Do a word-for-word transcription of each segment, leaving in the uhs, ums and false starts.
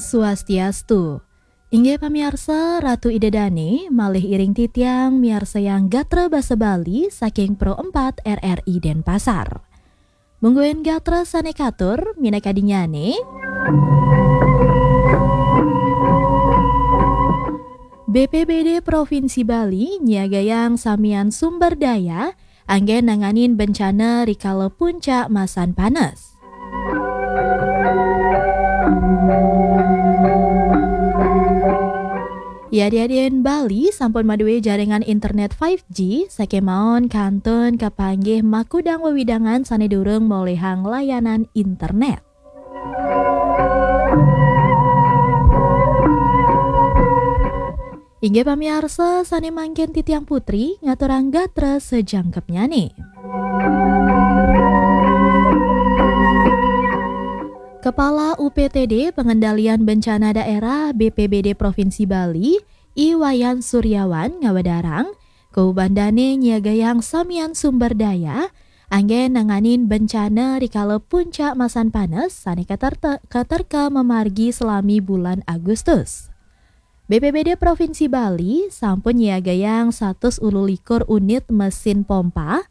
Swastiastu. Inggih pamiarsa, Ratu Ida Dane malih iring titiang miarsayang gatra basa Bali saking Pro empat R R I Denpasar. Mungguing gatra sane katur minakadinyane, B P B D Provinsi Bali nyiagayang samian sumber daya anggen nanganin bencana rikala puncak masan panas. Yadiadin Bali sampun madue jaringan internet five G, sakemaon kantun kapanggih makudang wewidangan sane durung molihang layanan internet. Inggih pamiarsa, sane mangkin titiang Putri ngaturang gatra sajangkepnyane. Kepala U P T D Pengendalian Bencana Daerah B P B D Provinsi Bali, I Wayan Suryawan ngawedarang, kubandane nyiagayang samian sumber daya anggen nanganin bencana rikala puncak masan panas sane katerta-, katerka mamargi selami bulan Agustus. B P B D Provinsi Bali sampun nyiagayang satus ulu likur unit mesin pompa,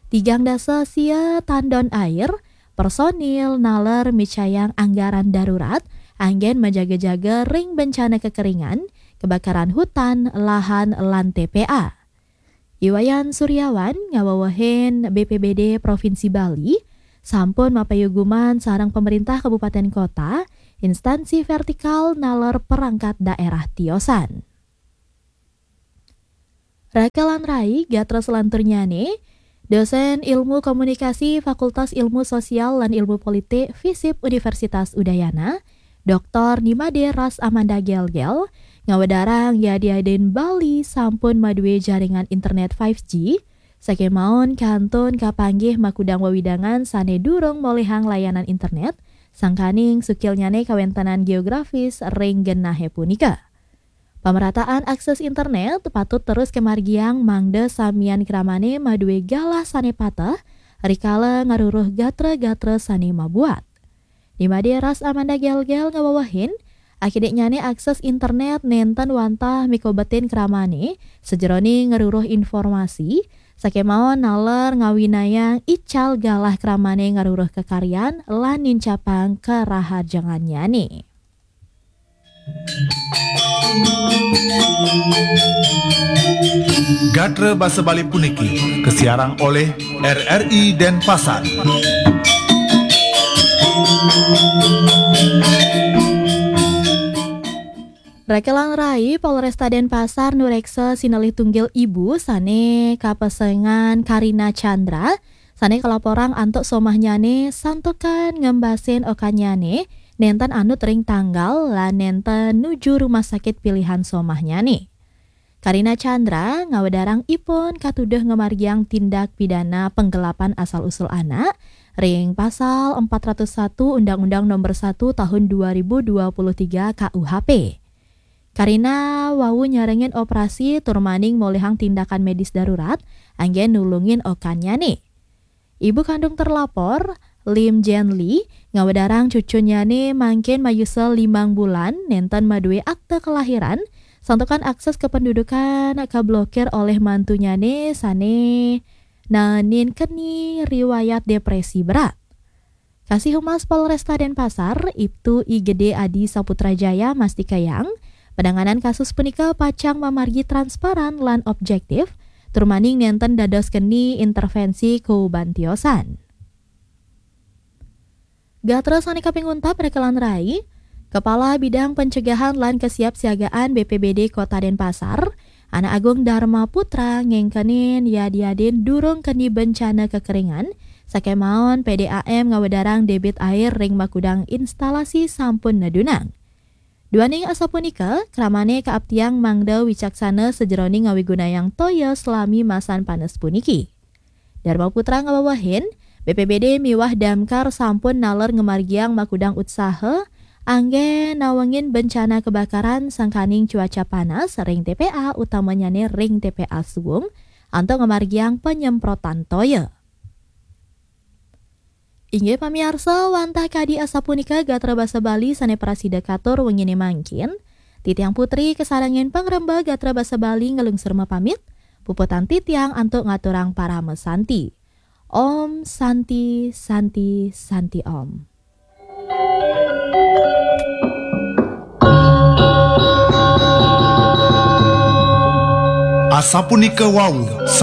tigang dasa sia tandon air, personil naler micayang anggaran darurat, anggen majaga-jaga ring bencana kekeringan, kebakaran hutan, lahan, lan T P A. I Wayan Suryawan ngawewehin B P B D Provinsi Bali sampun mapayuguman sareng pemerintah kabupaten kota, instansi vertikal naler perangkat daerah tiosan. Raka lan rai, gatra selanturnyane, dosen Ilmu Komunikasi Fakultas Ilmu Sosial lan Ilmu Politik FISIP Universitas Udayana, Doktor Nimade Ras Amanda Gelgel, ngawedarang yadiadin Bali sampun madue jaringan internet five G, sakemaon kantun kapanggih makudang wewidangan sane durung molihang layanan internet, sangkaning sukilnyane kawentenan geografis ring genahe punika. Pamerataan akses internet patut terus kamargiang mangda samian kramane madue galah sane pateh, rikala ngaruruh gatra-gatra sane mabuat. Nimade Ras Amanda Gelgel ngawewehin, akidik nyane akses internet nenten wantah mikobetin kramane, sajeroning ngaruruh informasi, sakemaon naler ngawinayang ical galah kramane ngaruruh kakaryan lan nincapang karaharjangannyane. Gatra basa Bali puniki kasiarang olih R R I Denpasar. Raka lan rai, Polresta Denpasar nureksa sinalih tunggil ibu sane kapesengan Karina Chandra, sane kalaporang antuk somahnyane santukan ngembasin okannyane nenten anut ring tanggal lan nenten nuju rumah sakit pilihan somahnyane. Karina Chandra ngawedarang ipun katuduh ngamargiang tindak pidana penggelapan asal usul anak ring Pasal empat ratus satu Undang-Undang Nomor satu Tahun dua ribu dua puluh tiga K U H P. Karina wau nyarengin operasi tur maning molihang tindakan medis darurat anggen nulungin okannyane. Ibu kandung terlapor, Lim Jen Lee, ngawedarang cucunnyane mangkin mayusa limang bulan nenten madue akta kelahiran, santukan akses kependudukan kablokir olih mantunyane sane naenin keni riwayat depresi berat. Kasih Humas Polresta Denpasar, Ibtu I Gede Adi Saputra Jaya mastikayang, penanganan kasus punika pacang mamargi transparan lan objektif, tur maning nenten dados keni intervensi kuban tiosan. Gatra sane kaping untat, Raka lan rai, Kepala Bidang Pencegahan lan Kesiapsiagaan B P B D Kota Denpasar, Anak Agung Dharma Putra ngengkenin yadiadin durung keni bencana kekeringan, sakemaon P D A M ngawedarang debit air ring makudang instalasi sampun nedunang. Duaning asapunika, kramane kaaptiang mangda wicaksana sajeroning ngawigunayang toya selami masan panes puniki. Dharma Putra ngawewehin, B P B D miwah Damkar sampun naler ngamargiang makudang utsaha anggen nawengin bencana kebakaran sangkaning cuaca panas ring T P A, utamanyane ring T P A Suwung, antuk ngamargiang panyemprotan toya. Inggih pamiarsa, wantah kadi asapunika gatra basa Bali sane prasida katur wengine mangkin. Titiang Putri kasarengin pangremba gatra basa Bali ngelungsur mapamit. Puputang titiang antuk ngaturang parama santi. Om Santi, Santi, Santi Om. Asapunika wau